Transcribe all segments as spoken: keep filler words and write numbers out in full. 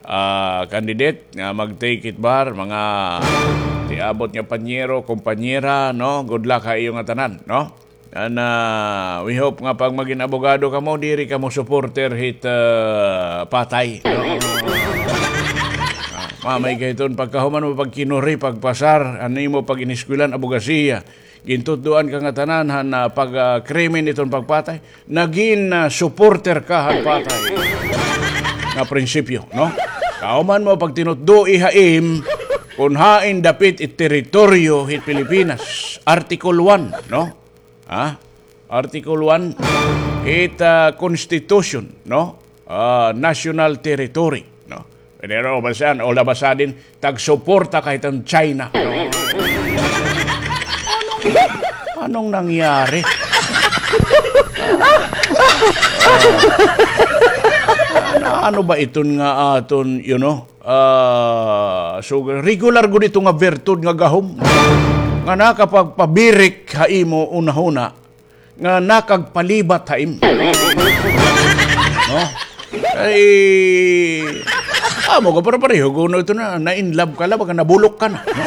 ah, candidate nga mag-take it bar, mga tiabot nga panyero, kompanyera, no? Good luck ha iyo ngatanan, no? And, ah, we hope nga pag magin abogado kamo, diri kamo supporter hit, ah, patay, no? Ah, mamay ka hiton, pagkahuman mo pagkinuri, pagpasar, an imo pag-iniskwelahan, abogasiya. Gintutdoan ka ngatanan han, ah, pag, ah, krimen iton pagpatay. Nagin, ah, supporter ka han patay nga prinsipyo, no? Kahuman mo pagtinutdoi ha im kon hain dapit it teritoryo hit Pilipinas. Article one, no? Ha? Article one, it, ah, constitution, no? Ah, national territory, no? Pero basahan, all of a sudden, tagsuporta ka hiton China, no? Anong, anong nangyari? Ah, ano, ano ba iton nga aton, you know, ah, so, regular gud ito nga bertud nga gahom nga nakapagpabirik ha imo hunahuna nga nakagpalibat ha imo. No? Ay, amo ka, pero pareho kuno ito na, na-in love ka la, baga nabulok ka na, no?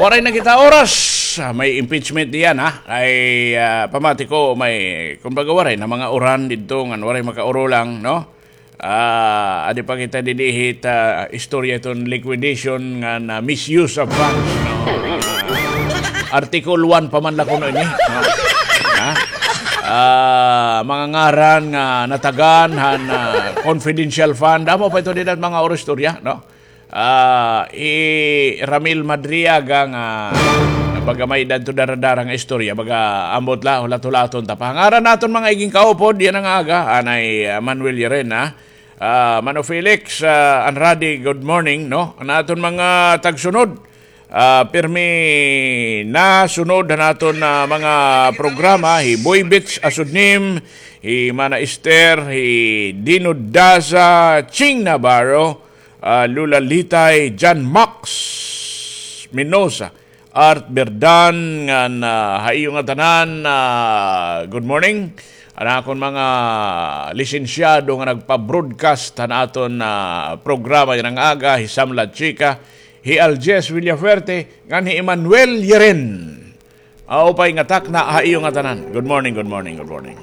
Waray na kita oras. Ah, may impeachment diyan, ha? Ay, ah, pamati ko, may, kumbaga, waray na mga uran didto, ngan waray makaurulang, no? Ah, adi pa kita didi hit, ah, istorya iton liquidation ngan misuse of funds, no? Ah, Article one pa man la kuno ini, no? Ha? Ah, mga ngaran nga natagan han, ah, confidential fund, amo pa ito dida mga oro istorya, no? Ah, hi Ramil Madriaga nga, baga may-ada adto dara-dara nga istorya, baga ambot la, hulat-hulaton ta pa. Ngaran naton mga iging kaupod yana nga aga, anay, ah, Manuel Llerena, ah, Mano Felix, ah, Anradi, good morning, no? An aton mga tagsunod, ah, pirmi nasunod han aton, ah, mga programa, hi Boy Bits Asudnim, hi Mana Esther, hi Dino Daza, Ching Navarro, ah, Lula Litay, John Max Minosa, Art Berdan, ngan, ah, ha iyo ngatanan, ah, good morning. An akon mga lisensyado nga nagpa-broadcast han aton, ah, programa yana nga aga, hi Sam Lachica, hi Aljes Villafuerte, ngan hi Emmanuel Yeren. Aw pay nga takna ha iyo ngatanan. Good morning, good morning, good morning.